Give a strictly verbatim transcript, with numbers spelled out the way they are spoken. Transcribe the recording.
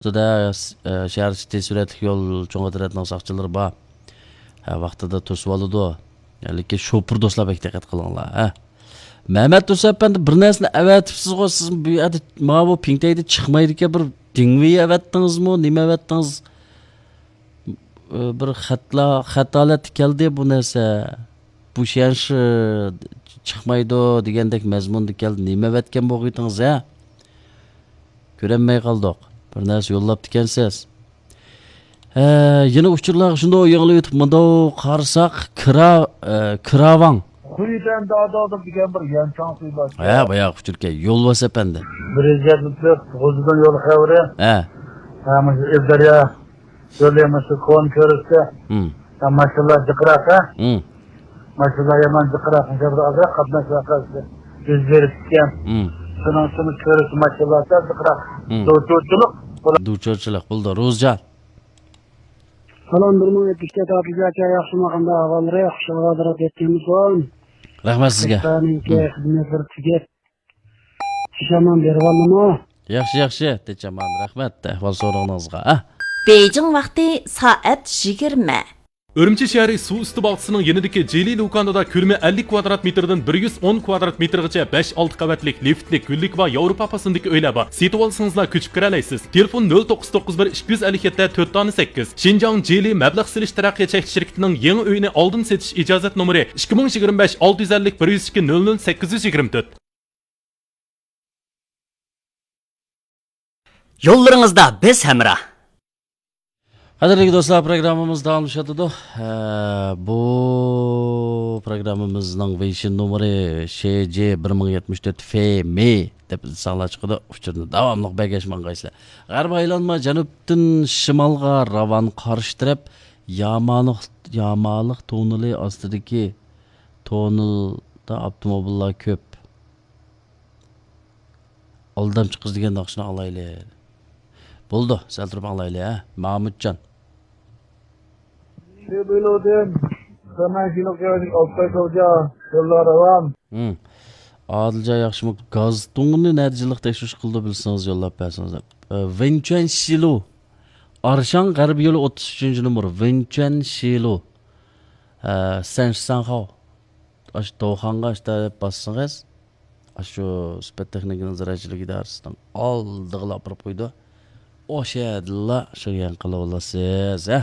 ئۈستىدە، ئە، شەھەر سىتى سۈرئەتلىك يول چوڭ ئەترەتنىڭ ساقچىلىرى بار. ھە، ۋاقتىدا توسۇۋالىدۇ. لېكىن شوپۇر دوستلار بەك دىققەت قىلىڭلار، ھە. مەمەت دوست ئەپەندى، بىر نەرسىنى ئەۋەتىپسىزغۇ، سىز بۇ يەردە ماۋۇ پىڭتەيدە چىقمايدىكەن، بىر دىڭۋېي ئەۋەتتىڭىزمۇ، نېمە ئەۋەتتىڭىز؟ ئە، بىر خەتلا-، خەت ھالەتتە كەلدى بۇ نەرسە. بۇ شيەنشى چىقمايدۇ دېگەندەك مەزمۇندا كەلدى. نېمە ئەۋەتكەن بولغىيتىڭىز، ھە؟ كۆرەلمەي قالدۇق. بىر نەرسە يوللاپتىكەنسىز. ھە، يەنە ئۇچۇرلارغا شۇنداق يېڭىلىۋېتىپ، مۇنداق قارىساق، كىرا-، ئە، كىراۋاڭ. خۇيدەن دادادا دېگەن بىر يەنچاڭ سۈيى بار. ھە، باياقى ئۇچۇركەن. يولۋاس ئەپەندى. بىر يۈز يەتمىش تۆت، غۇلجىدىن يول خەۋىرى. ھە. ھە، مۇشۇ ئىلدەريا يولى، مۇشۇ كونا كۆرۈشتە. ھىم. ھە، ماشىنىلار جىقراق، ھە؟ ھىم. ماشىنىلار يامان جىقراق، مۇشۇ بىر ئازراق قاتناش ۋەقەسى يۈز بېرىپتىكەن. ھىم. شۇنىڭ ئۈچۈن كۆرۈشتە ماشىنىلار سەل جىقراق. ھىم. دۇچۇرچىلىق. دۇچۇرچىلىق بولدى، روزجان. سالام، بىر مىڭ يەتمىش تۆت ئابىزى ئاكا، ياخشىمۇ، قانداق ئەھۋاللىرى؟ خۇشال-خاتىرە يەتكەنمىسۇن؟ رەھمەت سىزگە. خىزمەتلەرنىڭكى ھىم. خىزمەتلىرى تۈگەپ، چىشامان بېرىۋالدىمۇ؟ ياخشى، ياخشى، تېچامان، رەھمەت ئەھۋال سورىغىنىڭىزغا، ھە؟ بېيجىڭ ۋاقتى سائەت يىگىرمە. ئۈرۈمچى شەھىرى سۇ ئۈستى باغچىسىنىڭ يېنىدىكى جىلى لۇكاندىدا كۆلىمى ئەللىك كۋادرات مېتىردىن بىر يۈز ئون كۋادرات مېتىرغىچە بەش، ئالتە قەۋەتلىك لىفتلىك، گۈللۈك ۋە ياۋروپا پاسوندىكى ئۆيلەر بار. سېتىۋالسىڭىزلا كۆچۈپ كىرەلەيسىز. تېلېفون: نۆل توققۇز توققۇز بىر، ئىككى يۈز ئەللىك يەتتە، تۆت دانە سەككىز. شىنجاڭ جىلى مەبلەغ سېلىش تەرەققىيات چەكلىك شىركىتىنىڭ يېڭى ئۆيىنى ئالدىن سېتىش ئىجازەت نومۇرى: ئىككى مىڭ يىگىرمە بەش، ئالتە يۈز ئەللىك، بىر يۈز ئىككى، نۆل نۆل، سەككىز يۈز يىگىرمە تۆت. يوللىرىڭىزدا بىز ھەمراھ. قەدىرلىك دوستلار، پروگراممىمىز داۋاملىشىۋاتىدۇ. ھە، بۇ پروگراممىمىزنىڭ ۋېيشىن نومۇرى شې جې بىر مىڭ يەتمىش تۆت فې مې دەپ ئىزدىساڭلار چىقىدۇ. ئۇچۇرنى داۋاملىق بەرگەچ ماڭغايسىلەر. غەربىي ئايلانما جەنۇبتىن شىمالغا راۋان، قارشى تەرەپ يامالىق، يامالىق توننېلى ئاستىدىكى توننېلدا ئاپتوموبىللار كۆپ. ئالدامچى قىز دېگەن ناخشىنى ئاڭلايلى. بولىدۇ، سەل تۇرۇپ ئاڭلايلى، ھە، مامۇتجان. شۇ بىلوۋدىن سەمەن كىلو كەۋەدىك ئالتاي سوجا يوللار راۋان. ھىم. ئادىلجان ياخشىمۇ؟ گاز تۇڭىنى نەدە جىللىق تەكشۈرۈش قىلىدۇ، بىلسىڭىز يوللاپ بەرسىڭىز. ئە، ۋېنچۈەن شىلۇ. ئارشاڭ غەربىي يولى ئوتتۇز ئۈچىنچى نومۇر. ۋېنچۈەن شىلۇ. ئە، سەنشىساڭخاۋ. ئاشۇ توخانغا ئاشتا دەپ باسسىڭىز، ئاشۇ سۈپەت تېخنىكىنىڭ زىرائەتچىلىك ئىدارىسىنىڭ ئالدىغىلا ئاپىرىپ قويىدۇ. ئوشۇ يەردىلا شۇ يەرنى قىلىۋالىسىز، ھە.